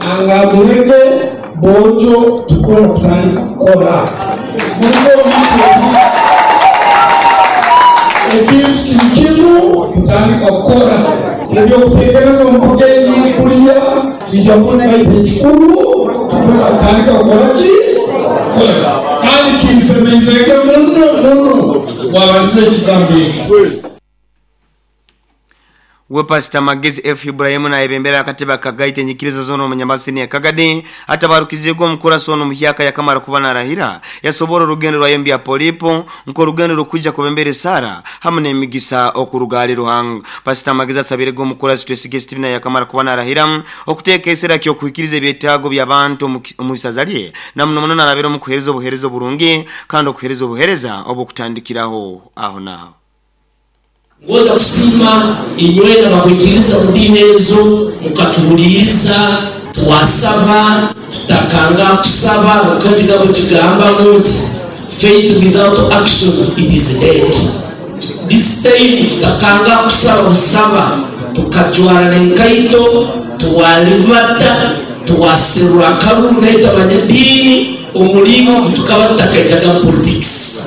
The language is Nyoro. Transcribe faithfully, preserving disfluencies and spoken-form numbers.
Angambirege bojo tukwenda kutandika kukora ekintu kiri kimu kutandika kukora ebyokutekereza omubugenyi kuliya kijja kuba ekikulu tukwenda kutandika kukora ki kukora kandi kinsemeizege muno muno wabalize ekigambo ekyo. We Pastor Magezi F Ibrahim na ebembera akateba kagaite nyikiriza zono omunyambasini ya Kagadi atabarukizego omukura sono muhyaka yakamara kuba narahira yasobora orugendo rwa yembya polipo nko rugendo rukuja kubembere sara hamwe n'emigisa okurugali Ruhanga. Pastor Magezi asabirego omukura Twesige Steven yakamara kuba narahira okuteeka esera kyo kuhikiriza ebyetaago by'abantu omuisazalye na muno muno narabira mu kuhereza obuhereza burungi kandi okuhereza obuhereza obukutandikiraho aho naho. Ngoza kusima inywena bakwikiriza mudini ezo mukatubuliza twasaba tutakanga kusaba mukachigabo chigamba muti faith without action it is dead. This time tutakanga kusaba kusaba tukajwara nenkaito tuwalibata tuwaserura kalulu naita abanyadini omulimu tukaba tutakajaga politics.